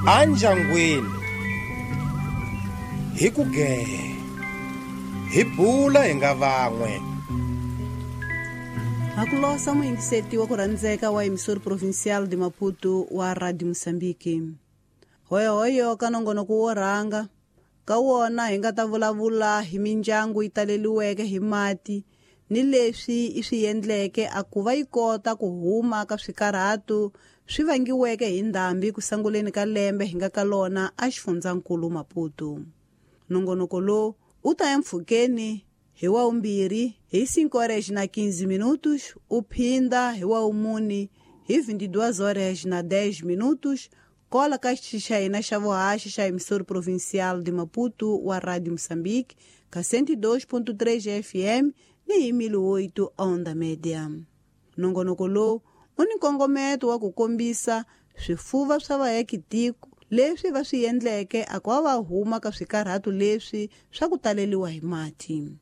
Andyangwini hi ku gee hi bula hi nga van'we. Hakulosa muyingiseti wa ku rhandzeka wa Emissora Provincial de Maputo wa Radio Moçambique. Hoyohoyo ka nongonoko wo rhanga ka wona hi nga ta vulavula hi mindyangu yi taleliweke hi mati ni leswi i swi endleke a ku va yi kota ku huma ka swikarhato swi vangiweke hi ndhambi ku sanguleni ka lembe hi nga ka lona a xifundzankulu Maputo. Nongonoko lowu u ta empfhukeni hi wa 2 hi 5:15 u phinda hi wa 4 hi 22:10 kola ka xitichi xa hina xa vuhaxi xa Emissora Provincial de Maputo wa Radio Moçambique ka 102.3 FM ni hi 1008 onda média. Nongonoko lowu u ni nkongometo wa ku kombisa swifuva swa vaakitiko leswi va swi endleke a ku va huma ka swikarhato leswi swa ku taleliwa hi mati.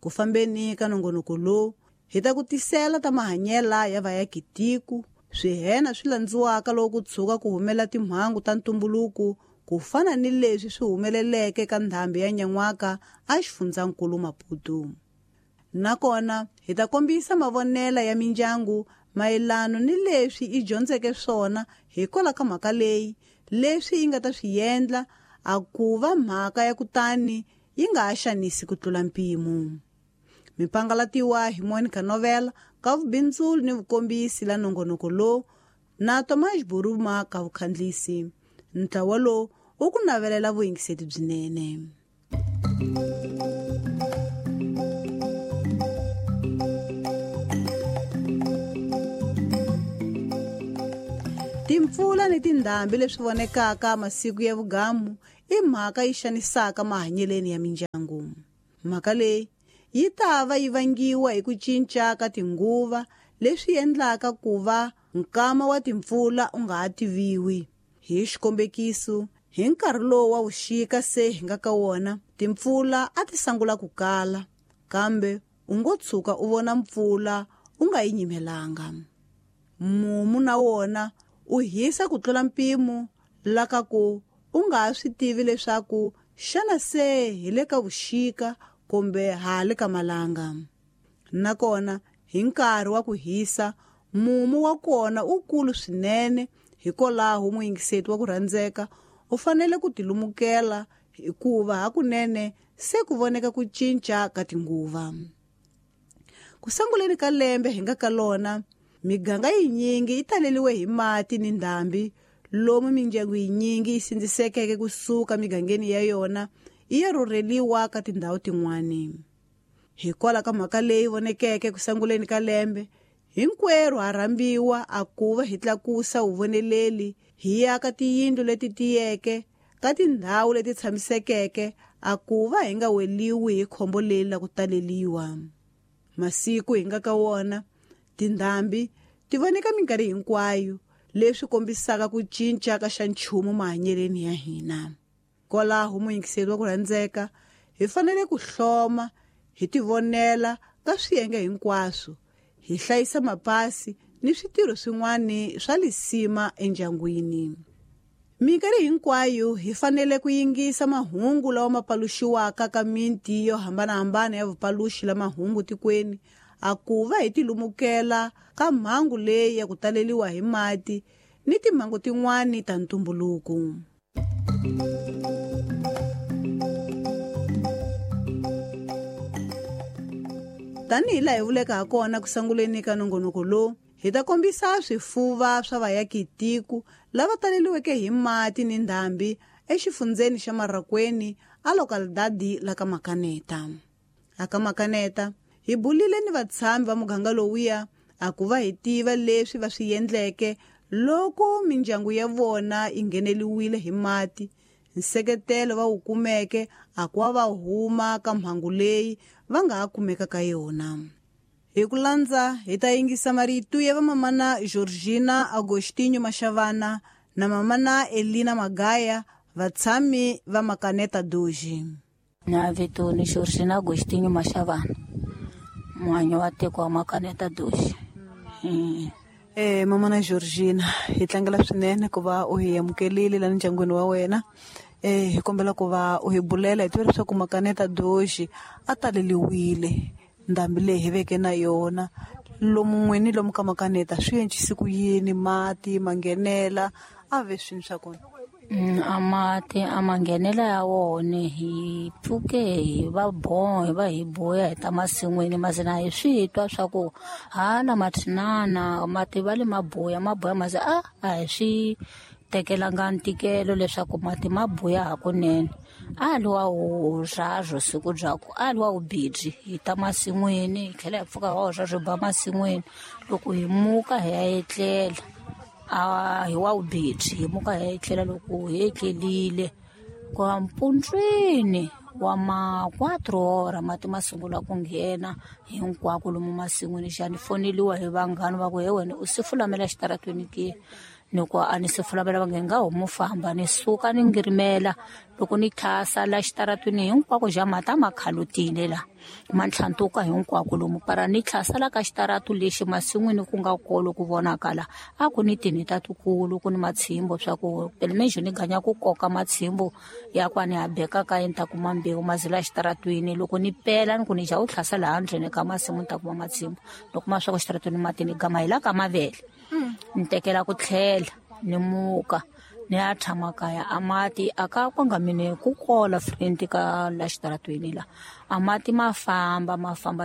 Ku fambeni ka nongonoko lowu hi ta ku tisela ta mahanyela ya vaakitiko, swihena swi landziwaka loko ku tshuka ku humela timhangu ta ntumbuluko ku fana ni leswi swi humeleleke ka ndhambi ya nyan'waka a xifundzankulu Maputo. Nakona hi ta kombisa mavonela ya mindyangu mayelano ni leswi i dyondzeke swona hikwalaho ka mhaka leyi, leswi yi nga ta swi endla a ku va mhaka ya kutani yi nga ha xanisi ku tlula mpimo. Mipangalatiwa hi Monica Novela ka vubindzuli ni vukombisi la nongonoko lowu na Tomás Buruma ka vukhandlisi. Ntlawa lowu u ku navelela vuyingiseti byinene. Timpfula ni tindhambi leswi vonekaka masiku ya vugamu i mhaka yi xanisaka mahanyeleni ya mindyangu. Mhaka leyi yi ta va yi vangiwa hi ku cinca ka tinguva leswi endlaka ku va nkama wa timpfula u nga ha tiviwi. Hi xikombekiso, hi nkarhi lowu wa vuxika se hi nga ka wona, timpfula a ti sangula ku kala, kambe u ngo tshuka u vona mpfula u nga yi nyimelanga. Mumu na wona u hisa ku tlula mpimo la ka ku u nga ha swi tivi leswaku xana se hi le ka vuxika kumbe ha le ka malanga. Nakona hi nkarhi wa ku hisa, mumu wa kona u kulu swinene, hikwalaho muyingiseti wa ku rhandzeka u fanele ku tilumukela hikuva hakunene se ku voneka ku cinca ka tinguva. Ku sanguleni ka lembe hi nga ka lona, miganga yinyingi yi taleliwe hi mati ni ndhambi, lomu mindyangu yinyingi yi sindzisekeke kusuka migangeni ya yona yi ya rhurheliwa ka tindhawu tin'wani. Hikwalaho ka mhaka leyi vonekeke ku sanguleni ka lembe, hinkwerhu ha rhambiwa a ku va hi tlakusa vuvoneleli hi ya ka tiyindlu leti tiyeke ka tindhawu leti tshamisekeke a ku va hi nga weliwi hi khombo leri la ku taleliwa. Masiku hi nga ka wona, tindhambi ti voneka minkarhi hinkwayo, leswi kombisaka ku cinca ka xa nchumu mahanyeleni ya hina. Kwalaho muyingiseri wa ku rhandzeka, hi fanele ku hloma hi tivonela ka swiyenge hinkwaswo, hi hlayisa mapasi ni switirho swin'wana swa lisima endyangwini. Minkarhi hinkwayo hi fanele ku yingisa mahungu lawa ma paluxiwaka ka miti yo hambanahambana ya vupaluxi la mahungu tikweni, a ku va hi tilumukela ka mhangu leyi ya ku taleliwa hi mati ni timhangu tin'wani ta ntumbuluko. Tanihi laha hi vuleke ha kona ku sanguleni ka nongonoko lowu, hi ta kombisa swifuva swa vaakitiko lava taleliweke hi mati ni ndhambi exifundzeni xa Marracuene a localidade la ka Makaneta. A ka Makaneta hi bulile ni vatshami va muganga lowuya a ku va hi tiva leswi va swi endleke loko mindyangu ya vona yi ngheneliwile hi mati, nseketelo va wu kumeke a ku va huma ka mhangu leyi va nga ha kumeka ka yona. Hi ku landza hi ta yingisa marito ya vamamana Georgina Agostinho Mashavana na mamana Elina Magaya, vatshami va Makaneta Doji. Na vito ni Georgina Agostinho Mashavana, muhanyi wa tiko wa Makaneta Doji. Mama na Georgina, hi tlangela swinene ku va u hi amukelile la ndyangwini wa wena. Hi kombela ku va u hi bulela hi tiva leswaku Makaneta Doji a taleliwile ndhambi leyi hi veke na yona lomu n'wini lomu ka Makaneta swi encise ku yini mati ma nghenela a ve swini swa kona? A mati a ma nghenela ya wona hi pfuke hi va hi va hi boya hi ta masin'wini maze na hi swi twa swa ku hala mathinana mati va le maboya maboya maze a hi swi tekelanga ntikelo leswaku mati ma boya hakunene. A li wa wurharu siku bya ku a li wa wubidyi hi ta masin'wini hi tlhela hi pfuka hi wa wurharu hi ba masin'wini loko hi muka hi ya etlela a hi wa wubidyi hi muka hi ya etlela loko hi etlelile kwa mpundzwini wa ma 4 hora mati ma sungula ku nghena hinkwako lomu masin'wini. Xa ni foneliwa hi vanghana va ku he wena u si fulamela xitaratweni ke? Ni ku a ni se fulamela va nge nga homu famba ni suka ni ngirimela loko ni tlhasa la xitaratweni hinkwako xa mati a ma khalutile la ma ntlhantuka hinkwako lomu para ni tlhasa la ka xitaratu lexi masin'wini ku nga kolo ku vonakala a ku ni tinhita tikulu ku ni matshimbo swa ku pelimejo ni ganya ku koka matshimbo ya ku a ni ha beka ka ni ta kuma mbewu mazila xitaratwini loko ni pela ni ku ni ja u tlhasa laha ndzeni ka masimu ni ta kuma matshimbo loko ma swa ku xitaratwini mati ni gama hi la ka mavele ni tekela ku tlhela ni muka ni ya tshama kaya a mati a ka kwanga mine ku kola friend ka la xitaratweni la a mati ma famba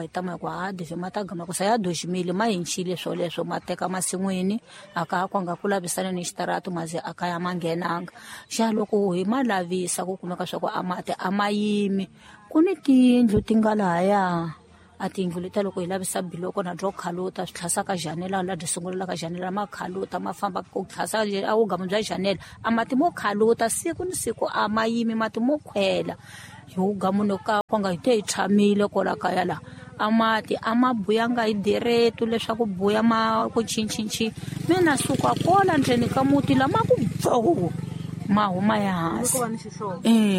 hi tama hi ku ha dive ma ta gama ku sa ya doximile ma hincile swoleswo ma teka masin'wini a ka kwanga ku lavisana ni xitaratu maze a kaya ma nghenanga. Xa loko hi ma lavisa ku kumeka swa ku a mati a ma yimi ku ni tiyindlu ti nga lahaya a tiyindlu leta loko hi lavisa biloko na byo khaluta swi tlhasa ka janela la byi sungulela ka janela ma khaluta ma famba ku tlhasa a vugamu bya janela a mati mo khaluta siku ni siku a ma yimi mati mo khwela hi vugamu ka kwanga hi te hi tshamile kwala kaya la a mati a ma buyanga hi diretu leswaku buya ma ku chinchinchi mina suka kola ndzeni ka muti lama ku bvo ma huma ya hansi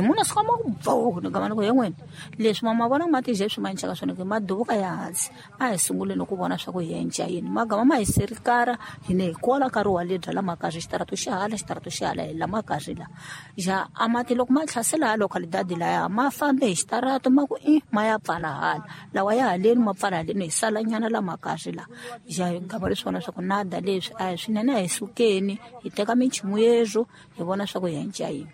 muna suka ma ku bvo ni gama ni ku he n'wini leswi ma vona mati je swi ma encaka swona ke ma duvuka ya hansi a hi sunguleni ku vona swa ku hi enca yini magama ma hi serikara hi ne hi kola nkarhi wa le byala makazi xitaratu xi hala xitaratu xi hala hi la makazi la ja a mati loko ma tlhasela hala khalidadi laya ma fambe hi xitaratu ma ku i ma ya pfala hala lawa ya haleni ma pfala haleni hi salanyana la makazi la ja hi gama leswi vona swa ku nada leswi a hi swinene a hi sukeni hi teka minchumu yezwo hi vona swa ku hi enca yini.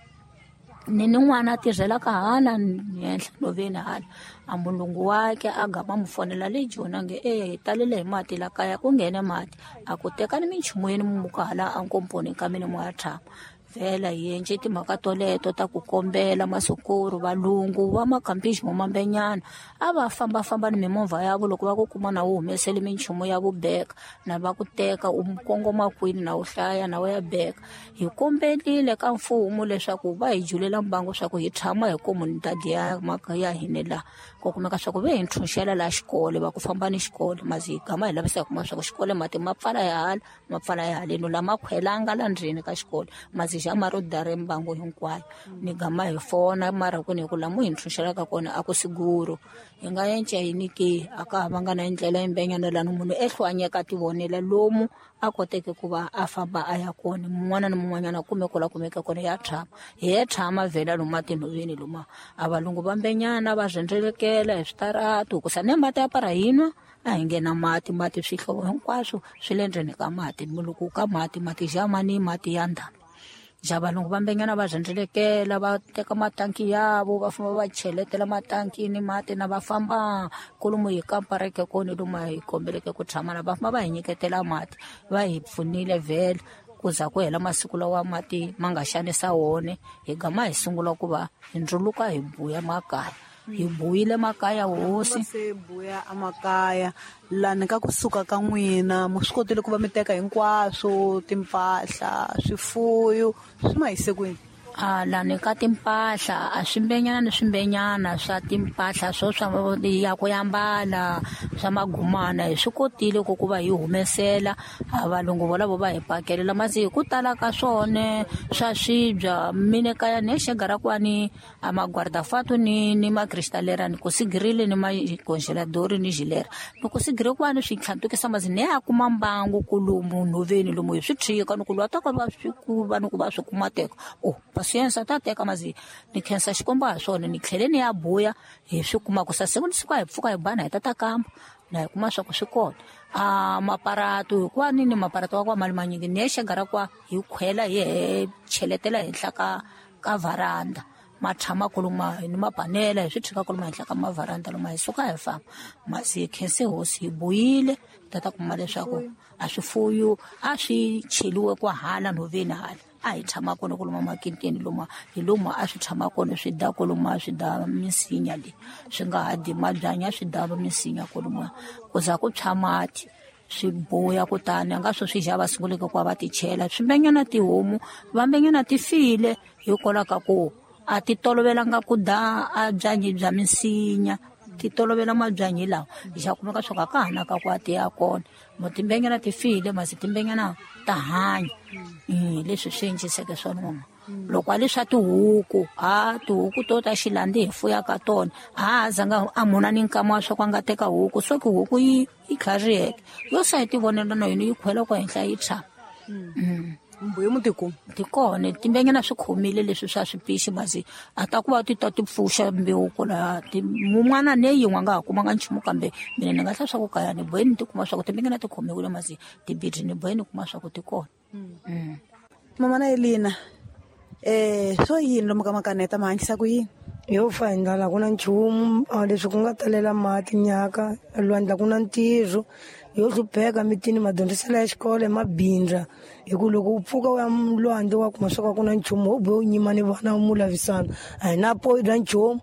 Ni ni n'wana a tirhelaka hala henhla nhoveni hala a mulungu wakhe a gama mu fonela le joni a nge hi talele hi mati la kaya ku nghene mati a ku tekani minchumu yeni muka hala a nkomponi ka mina mo ya tshama vhela hi endle timhaka toleto ta ku kombela masukuru valungu va makhampixi mo mambenyana a va fambafamba ni mimovha yavo loko va ku kuma na wu humesele minchumu ya vubeka na va ku teka u kongoma kwini na wu hlaya na wu ya beka. Hi kombelile ka mfumo leswaku va hi julela mbangu swa ku hi tshama hi komunitadi ya ya hina la ku kumeka swa ku ve hi ntshunxela la xikolo va ku famba ni xikolo mazi hi gama hi lavisa hi kuma swa ku xikolo mati ma pfala ya hala ma pfala ya haleni lama khwelanga la ndzeni ka xikolo mazi xa maro dare mbangu hinkwayo ni gama hi fona mara ku ni ku lamu hi ntshunxelaka kona a ku siguro hi nga enca yini ke a ka ha vanga na ndlela yimbenyana lani munhu ehlwanyeka ti vonela lomu a koteke ku va a famba a ya kona mun'wana ni mun'wanyana kume ku la kumeke kona ya tshama hi ya tshama vhela lomu atinhoveni loma a valungu va mbenyana va rhendzelekela hi switaratu ku sa ne mati ya para hinwa a hi nghena mati mati swihlovo hinkwaswo swi le ndzeni ka mati loko ka mati mati jamani mati ya ndhambi ja valungu va mbenyana va rhendzelekela va teka matanki yavo va famba va cheletela matankini mati na va famba kolomu hi kampareke kona lomu hi kombeleke ku tshama na va famba va hi nyiketela mati va hi pfunile vhele ku za ku hela masiku lawa mati ma nga xanisa wona hi gama hi sungula ku va hi ndzuluka hi buya makaya hi buyile makaya hosi se buya amakaya lani ka kusuka ka n'wina mu swi kotile ku va mi teka hinkwaswo timpahla swifuyo swi ma hise kwini? A lani ka timpahla a swimbenyana ni swimbenyana swa timpahla swo swa ya ku yambala swa magumana hi swi kotile ku ku va hi humesela a valungu volavo va hi pakelela masi hi ku tala ka swone swa swibya mine kaya ni xegara kwani a magwardafatu ni makristalera ni kusigirile ni macongeladori ni gilera ni kusigire kwani swi tlhantukisa masi ni ya kuma mbangu kulumu nhoveni lomu hi swi tshika ni ku lwa ta ka va swi ku va ni ku va swi kuma teka o pasiensa ta teka masi ni khensa xikwembu ha swona ni tlhele ni ya buya hi swi kuma ku sa siku ni siku a hi pfuka hi bana hi tata kamba na hi kuma swa ku swi kona a maparato hikuva ni ni maparato wa kwa mali manyingi ni ya xegara kwa hi khwela hi cheletela henhla ka varanda ma tshama kuluma ni mapanela hi swi tshika kuluma henhla ka mavaranda loma hi suka hi famba masi hi khense hosi hi buyile tata kuma leswaku a swifuyo a swi cheliwe kwa hala nhoveni hala a hi tshama kona kuluma makinteni loma hi lomu a swi tshama kona swi da kuluma swi da misinya leyi swi nga ha di mabyanyi a swi da misinya kuluma ku za ku tshwa mati swi buya kutani a nga swo swi xava sunguleke ku va va ti chela swimbenyana tihomu vambenyana ti file hikwalaho ka ku a ti tolovelanga ku da a byanyi bya misinya ti tolovela mabyanyi lawa xa kumeka swo ka ka ha na ka ku a ti ya kona mo timbenyana ti file masi timbenyana ta hanya leswi swi enciseke swona mama loko a leswa tihuku a tihuku to ta xilandi hi fuyaka tona a zanga a muna ni nkama wa swa ku a nga teka huku so ki huku yi tlhariheke yo sa hi ti vonela na yona yi khwela ku henhla yi tshama mbuyo mutiku ti kona timbenyana swi khomile leswi swa swipixi masi a ta ku va ti ta ti pfuxa mbewu kwala mun'wana ne yin'we a nga ha kumanga nchumu kambe mina ni nga hla swa ku kaya ni bohe ni ti kuma swa ku timbenyana ti khomiwile masi tibidi ni bohe ni kuma swa ku ti kona. Mama na Elina swo yini lomu ka makaneta ma hanyisa ku yini? Yo fa hi ndlala ku na nchumu leswi ku nga talela mati nyaka lwandla ku na ntirho yo hlupheka mitini madyondziselo ya xikolo mabindza hi ku loko u pfuka u ya lwandle wa kuma swa ku na nchumu wo bohe u nyima ni vana mu lavisana a hi na poyi bya nchumu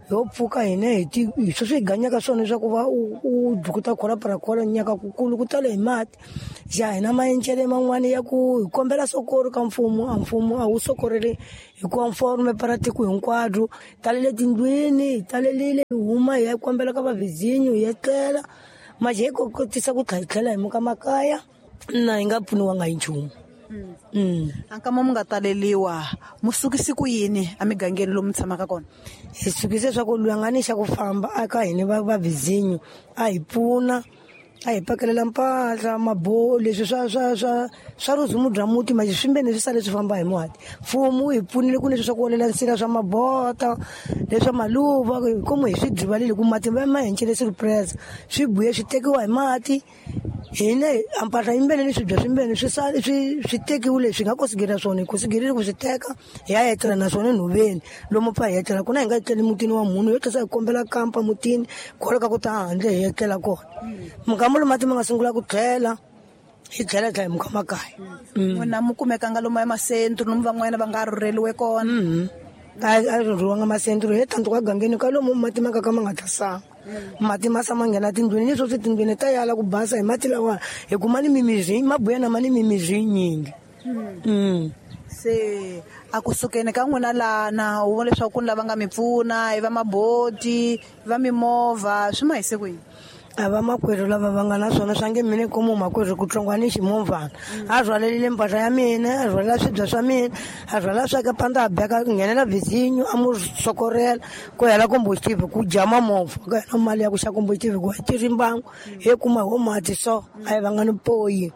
yo pfuka hina hi ti hi sweswi hi ganyaka swona leswaku va u dukuta khola parakhola nyaka kukulu ku tale hi mati xa hina maencele man'wani ya ku hi kombela sokoro ka mfumo a mfumo a wu sokoreli hi conforme para tiko hinkwaro talele tindlwini hi talelile hi huma hi ya kombela ka vavhizinyo hi etlela maje hi kotisa ku tlhela hi muka makaya na hi nga pfuniwanga hi nchumu. Ankama mu nga taleliwa mu sukisi ku yini emigangeni lomu tshamaka kona? Hi sukise swa ku loyi a nga ni xa ku famba aka hina vavhizinyo a hi pfuna a hi pakelela mpahla maboho leswi swa ruzumu bya muti maje swimbeni swi sale swi famba hi mati mfumo wu hi pfunile ku leswi swa ku olela nsila swa mabota leswa maluva komu hi swi drivalile ku mati ma hencele surprise swi buye swi tekiwa hi mati hina ampahla yimbele ni swibya swimbeni swi sale swi tekiwile swi nga kosigira swona hi kosigerile ku swi teka hi ya etlela naswona nhoveni lomu pfa hi etlela kona hi nga etleli mutini wa munhu yo tlhela hi kombela kampa mutini kwaloka ku ta handle hi etlela kona mukambo lomu mati ma nga sungula ku tlhela hi tlhela tlhela hi muka makaya. N'wina mu kumekanga lomu emasentru lomu van'wana va nga rhurheliwe kona? A rhurhiwanga masentru hi tantu ka gangeni ka lomu mati ma ka ka ma nga tasanga mati ma sama nghena tindlwini ni sweswi tindlwini ta yala ku basa hi mati lawa hi kuma ni mimiri mabuya na ma ni mimiri yinyingi. Se a ku sukeni ka n'wina lana u vona leswaku ku ni lava nga mi pfuna hi va maboti va mimovha swi ma hise ku yini? A va makwerhu lava va nga na swona swa nge mina komu makwerhu ku tlongwa ni ximovhana a rhwalelile mpahla ya mina a rhwalela swibya swa mina a rhwalela swa ka panda a beka nghenela vhizinyo a mu sokorela ku hela komboxitive ku jama movha ka hela mali ya ku xa komboxitive ku tirhi mbangu he kuma ho mati so a hi vanga ni poyi.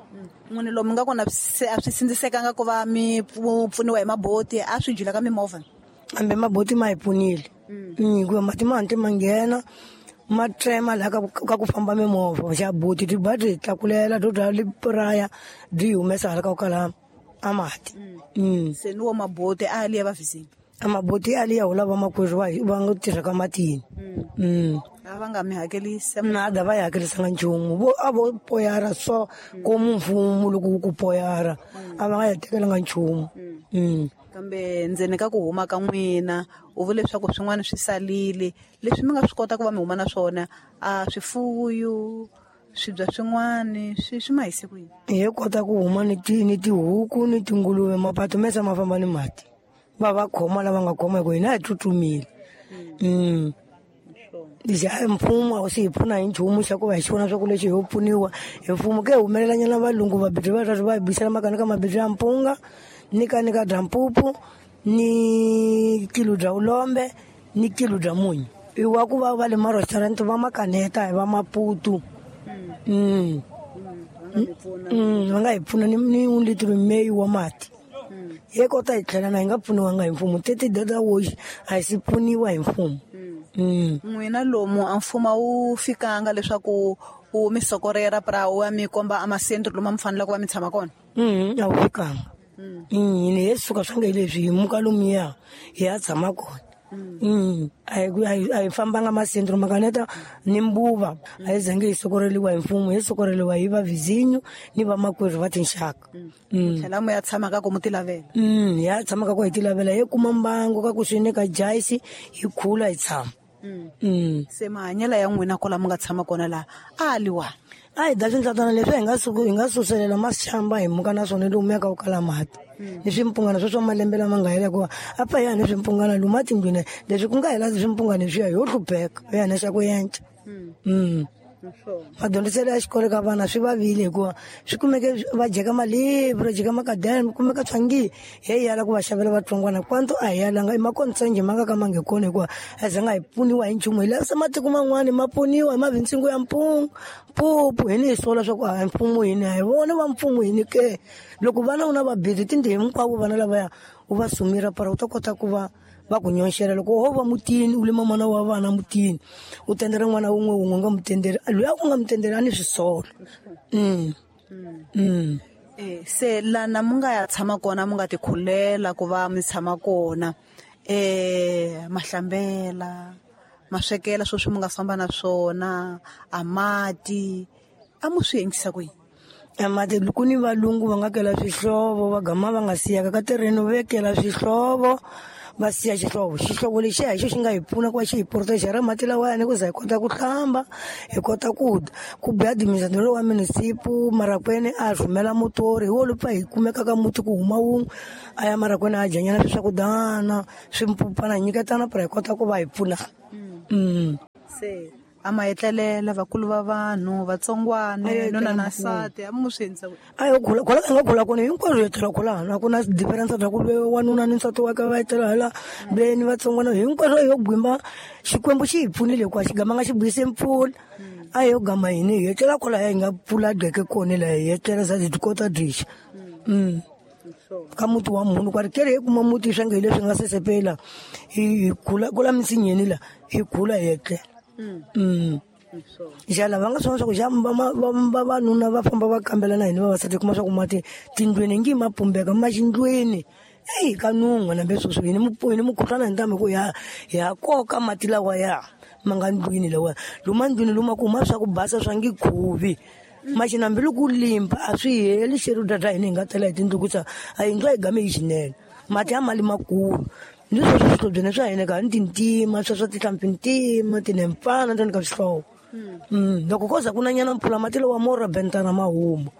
N'wina lomu nga kona se a swi sindzisekanga ku va mi pfuniwa hi maboti a swi jula ka mimovha? Kambe maboti ma hi pfunile hikuva mati ma hantle ma nghena ma trema laha ka ku famba mimovha xa boti byi ba byi tlakulela byo dya lipuraya byi humesa hala ka ku kala a mati. Se ni wo maboti a liya va vhizini? A maboti a liya hula vamakwerhu va nga tirhaka matini. A va nga mi hakelisi? Nada va hi hakelisanga nchumu vo a vo poyara so komu mfumo loko wu ku poyara a va nga hi tekelanga nchumu. Kambe ndzeni ka ku huma ka n'wina u vule leswaku swin'wana swi salile leswi mi nga swi kota ku va mi huma na swona a swifuyo swibya swin'wana swi ma hise ku yini? Hi kota ku huma ni tihuku ni tinguluve mapato mesa ma famba ni mati. Va khoma lava nga khoma hi ku hina hi tsutsumile. Xa mfumo a wu se hi pfuna hi nchumu xa ku va hi xi vona swa ku lexi ho pfuniwa hi mfumo ke humelelanyana valungu vabidzi va va hi bisela makani ka mabidzi ya mpunga ni ka bya mpupu ni kilo bya ulombe ni kilo bya munyu i wa ku va le ma-restaurant va makaneta hi va Maputo. Va nga hi pfuna ni 1 litro meyi wa mati. Hi kota hi tlhela na hi nga pfuniwanga hi mfumo teti data woxi a hi si pfuniwa hi mfumo. N'wina lomu a mfumo wu fikanga leswaku u mi sokorera pra u ya mi komba a masentro lomu mi faneleke ku va mi tshama kona? A wu fikanga. Hina hi suka swa nge leswi hi muka lomuya hi ya tshama kona. A hi fambanga masentro makaneta ni mbuva a hi zange hi sokoreliwa hi mfumo, hi sokoreliwa hi vavizinyo ni vamakwerhu va tinxaka. Tlhela mu ya tshama ka ku mu ti lavela? Hi ya tshama ka ku hi ti lavela, hi kuma mbangu ka ku swi ka jayisi hi khula hi tshama. Se mahanyelo ya n'wina kwala mu nga tshama kona laha a liwa? A hi da swindlatana leswi hi nga suselela masixamba hi muka na swona lomu ya ka ku kala mati. Ni swimpungana swo swa malembe lama nga hela hikuva a pfa hi ya ni swimpungana lomu atindlwini leswi ku nga hela swimpungana leswiya ho hlupheka hi ya na xa ku yenca. Madyondziselo ya xikolo ka vana swi vavile hikuva swi kumeke va jeka malebvu va jeka makadeni kumeka swangi hi yala ku va xavela vatsongwana kwanto a hi yalanga i makontsenge ma nga ka ma nge kona hikuva a zanga hi pfuniwa hi nchumu hi lavisa matiko man'wani ma pfuniwa hi mavintsingo ya mpungu mpupu hi ni hi sola swa ku a mfumo hini a hi vona va mfumo hini ke loko vana u na vabidi tindlu hinkwavo vana lavaya u va sumira para u ta kota ku va va ku nyonxela loko ho va mutini u lima n'wana wa vana mutini u tendela n'wana wun'we wun'we nga mutenderi loyi a ku nga mutenderi a ni swisolo. Se lana mu nga ya tshama kona mu nga ti khulela ku va mi tshama kona mahlambela maswekela swo swi mu nga famba na swona a mati a mu swi endlisa ku yini? Mati ku ni valungu va nga kela swihlovo va gama va nga siyaka ka terreno vekela swihlovo va siya xihlovo xihlovo lexiya hi xo xi nga hi pfuna ku va xi hi proteger mati lawayani ku za hi kota ku hlamba hi kota ku dya ku biha administrator wa munisipu Marakwene a rhumela motori hi wo lupfa hi kumeka ka muti ku huma wun'we a ya Marakwene a dyanyana swiswakudana swimpupana nyiketana pra hi kota ku va hi pfuna. Se a ma etlelela vakulu va vanhu vatsongwana nuna na nsati a mu swi endlisa ku a yo khula khula nga khula kona hinkwaswo hi etlela khulana a ku na difference bya ku wanuna ni nsati wa ka va etlela hala ve ni vatsongwana hinkwaswo yo gwimba Xikwembu xi hi pfunile hikuva xi gama nga xi buyise mpfula a yo gama hini hi etlela kwala hi nga pfula geke kona laha hi etlela za hi kota dixa. Ka muti wa munhu kwari kere hi kuma muti swa nge leswi nga sesepela hi khula kula misinyeni la hi khula hi etlela. Xana va nga swona swa ku xa vavanuna va famba va kambela na hina vavasati kuma swa ku mati tindlwini ngi ma pumbeka ma xindlwini eyi ka nun'wa nambe sweswo hini mukhuhlwana hi ntamu hi ku ya koka mati lawa ya ma nga ndlwini lawa luma ndlwini luma ku huma swa ku basa swa ngi khuvi maxi nambi loko limba a swi heli xerhu data hina hi nga tela hi tindlu ku sa a yindlu a yi game hi xinene mati ya mali makulu ni sweswo swihlobyeni swa hina ka ni tintima swa swa tihlampfi ntima tinempfana ntoni ka swihlovo. Loko ko za ku na nyana mpfula mati lawa mo robentana ma huma.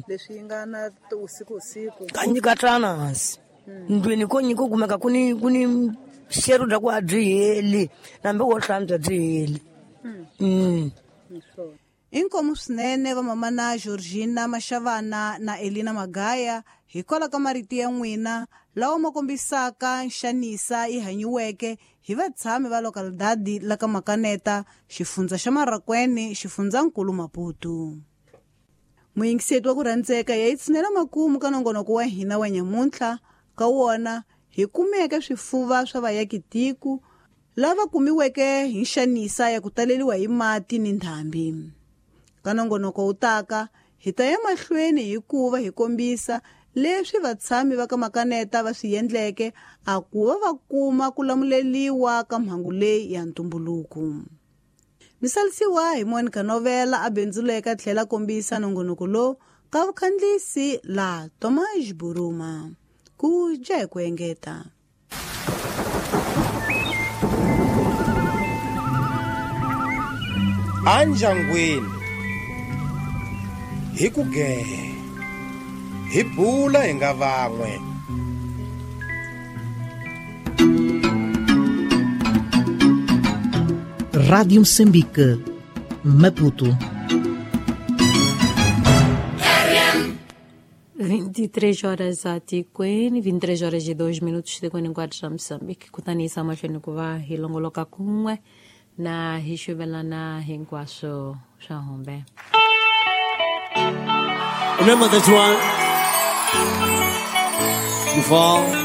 Leswi yi nga na usiku usiku ka nyikatana hansi ndlwini ko nyiko kumeka ku ni xerhu bya ku a byi heli nambi wo hlantswa byi heli. Inkomu swinene vamamana Georgina Mashavana na Elina Magaya hikwalaho ka marito ya n'wina lawa ma kombisaka nxanisa yi hanyiweke hi vatshami va localidade la ka Makaneta xifundza xa Marakwene xifundzankulu Maputo. Muyingiseti wa ku rhandzeka ya yi tshinela makumu ka nongonoko wa hina wa nyamuntlha ka wona hi kumeke swifuva swa vayakitiko lava kumiweke hi nxanisa ya ku taleriwa hi mati ni ndhambi. Ka nongonoko wu taka hi ta ya mahlweni hikuva hi kombisa leswi vatshami va ka Makaneta va swi endleke a ku va va kuma ku lamuleliwa ka mhangu leyi ya ntumbuluko. Misalisiwa hi Monica Novela a bindzuleka tlhela kombisa nongonoko lowu ka vukhandlisi la Tomas Buruma ku dya hi ku engeta. Anjangwini hi ku gehe hi bula hi nga van'we. Rádio Moçambique, Maputo. 23 horas a tikweni, 23 horas e 2 minutos tikweni hinkwaro ra Moçambique. Kutani yisa mahlweni ku va hi longoloka kun'we na hi xuvelana hinkwaswo swa humbe. Remember this one before.